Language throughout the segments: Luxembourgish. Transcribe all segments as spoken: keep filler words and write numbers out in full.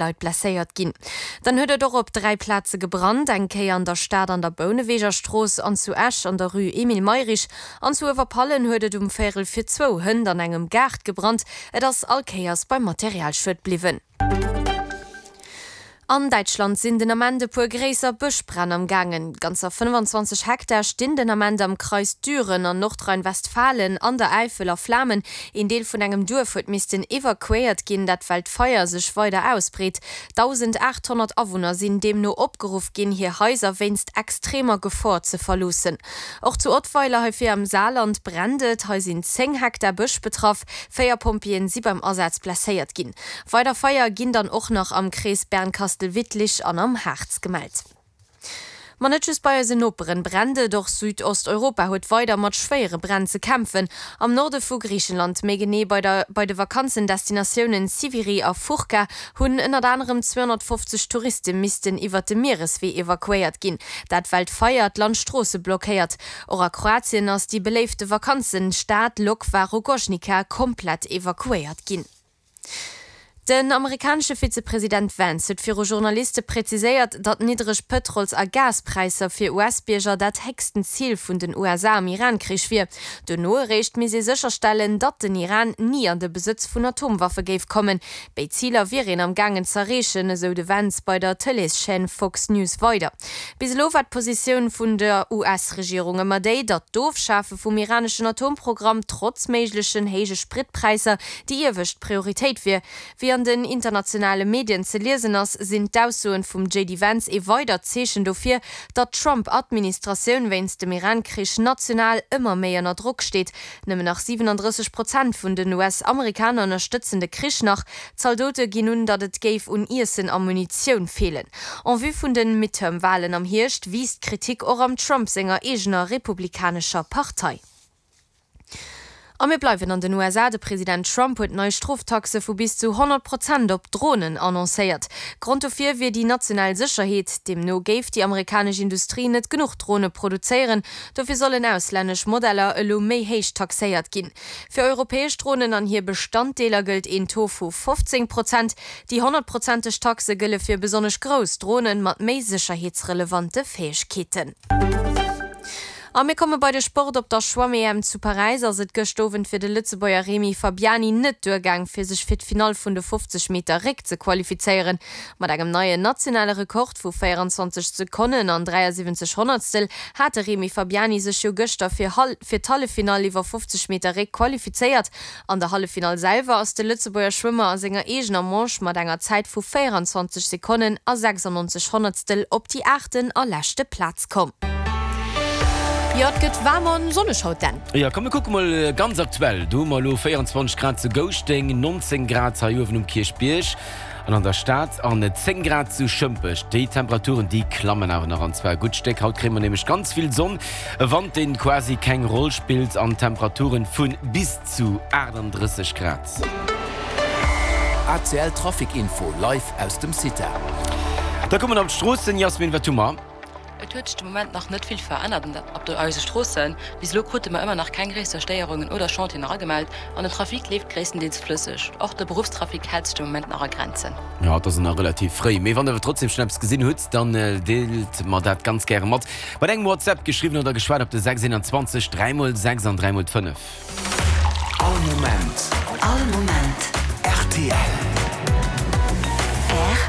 Leit blesséiert ginn. Dann huet et och op dräi Plaze gebrannt, eng Kéier an der Stad an der Bouneweger Strooss an zu Esch an der Rue Emile Mayrisch an zu Uewerpallen huet et um Véierel fir zwou hënt an engem Gaart gebrannt. Et ass all Kéiers beim Materialschued bliwwen. An Däitschland sinn den Ament e puer gréisser Bëschbränn am gaangen. Ganzer fënnfanzwanzeg Hektar stinn den Ament am Kreis Düren an Nordrhein-Westfalen an der Äifel a Flamen. Een Deel vun engem Duerf huet missten evakuéiert ginn, dat well d'Feier sech weider ausbreet. dausendachthonnert Awunner sinn deemno opgeruff ginn, hir Haiser wéinst extremer Gefor ze verloossen. Och zu Ottweiler, hei vir am Saarland, brennt et. Hei sinn zéng Hektar Bësch betraff. Véier Pompjeeën si beim Asaz blesséiert ginn. Weider Feier ginn dann och nach am Krees Bernkastel-Wittlich an am Harz gemellt. Ma net just bei eisen Noperen brennt et, och Südosteuropa huet weider mat schwéiere Bränn ze kämpfen. Am Norde vu Griichenland, méi genee bei der bei de Vakanzendestinatiounen Siviri a Fourka, hunn ënnert anerem zweehonnertfofzeg Touriste missten iwwert de Miereswee evakuéiert ginn. Dat well d'Feier d'Landstroosse blockéiert. Och a Kroatien ass déi beléifte Vakanzenstad Lokva Rogoznica komplett evakuéiert ginn. Den amerikanesche Vizepresident Vance huet viru Journaliste präziséiert, datt niddreg Pëtrols a Gaspräisser fir U S-Bierger dat héchsten Zil vun den U S A am Iran-Krich wier. Dono eréischt misst ee sécherstellen, datt den Iran ni an de Besëtz vun Atomwaffe géif kommen. Béid Ziler wier een am gaangen z'erreechen, esou de Vance bei der Tëleeschaîne Fox News weider. Bis elo war d'Positioun vun der U S-Regierung ëmmer déi, datt d'Ofschafe vum iraneschen Atomprogramm trotz méiglechen héije Spritpräisser déi iewescht Prioritéit wier. Wéi an den internationale Medien ze liesen ass, sinn d'Aussoen vum J D Vance ee weidert Zeechen dofir, datt d'Trump-Administratioun wéinst dem Iran-Krich national ëmmer méi ënner Drock steet. Nëmmen nach siwenendrësseg Prozent vun den U S-Amerikaner ënnerstëtzen de Krich nach. Zaldote ginn un, datt et géif un Iessen a Munitioun feelen. En vue vun de Midterm-Walen am Hierscht wiisst d'Kritik och am Trump senger eegener republikanescher Partei. A mir bleiwen an den U S A, De President Trump huet nei Stroftaxe vu bis zu honnert Prozent op Dronen annoncéiert. Grond dofir wier déi national Sécherheet. Deemno géif déi amerikanesch Industrie net genuch Drone produzéieren. Dofir sollen auslännesch Modeller elo méi héich taxéiert ginn. Fir europäesch Dronen an hir Bestanddeeler gëllt een Taux vu fofzéng Prozent. Déi honnertprozenteg Taxe gëlle fir besonnesch grouss Dronen mat méi sécherheetsrelevante Fäegkeeten. A mir komme bei de Sport. Op der Schwamm-E M zu Paräis ass et gëscht Owend fir de Lëtzebuerger Remy Fabiani net duergaang, fir sech fir d'Finall vun de fofzeg Meter Réck ze qualifizéieren. Mat engem neien nationale Rekord vu véierenzwanzeg Sekonnen an dräiasiwwenzeg Honnertstel hat de Remy Fabiani sech jo gëschter fir fir d'Halleffinall iwwer fofzeg Meter Réck qualifizéiert. An der Halleffinall selwer ass de Lëtzebuerger Schwëmmer a senger eegener Manche mat enger Zäit vu véierenzwanzeg Sekonnen a sechsannonzeg Honnertstel op déi aachten a leschte Plaz komm. Jo, et gëtt waarm an sonneg haut, Dan. Jo, komm mir kucke mol ganz aktuell. Do hu mer elo véierenzwanzeg Grad zu Gouschteng, nonzéng Grad hei uewen um Kierchbierg an an der Stad an zéng Grad zu Schëmpech. Déi Temperaturen, déi klammen awer nach an zwar e gutt Stéck. Haut kréie mer nämlech ganz vill Sonn, e Wand, deen quasi keng Roll spillt an Temperaturen vu bis zu aachtanddrësseg Grad. A C L Trafic Info live aus dem CITA. Da komme mer op d'Stroossen. Jasmin, wat hu mer? Et huet sech de Moment nach net vill verännert op de eise Stroossen. Bis elo krute mer ëmmer nach keng gréisser Stéierungen oder Chantieren eragemellt an den Trafic leeft gréisstendeels flësseg. Och de Beruffstrafic hält sech de Moment nach a Grenzen. Jo, et ass nach relativ fréi, mee wann der awer trotzdem schonn eppes gesinn hutt, dann deelt mer dat ganz gäre mat. Mat engem WhatsApp, geschriwwen oder geschwat, op de sechs eenanzwanzeg dräi mol sechs an dräi mol d'fënnef. All Moment. All Moment. R T L. R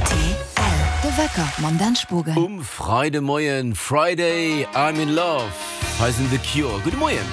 T L. De Wecker mam Dan Spogen. Um Freidemoien, Friday, I'm in love. Hei sinn The Cure. Gudde Moien.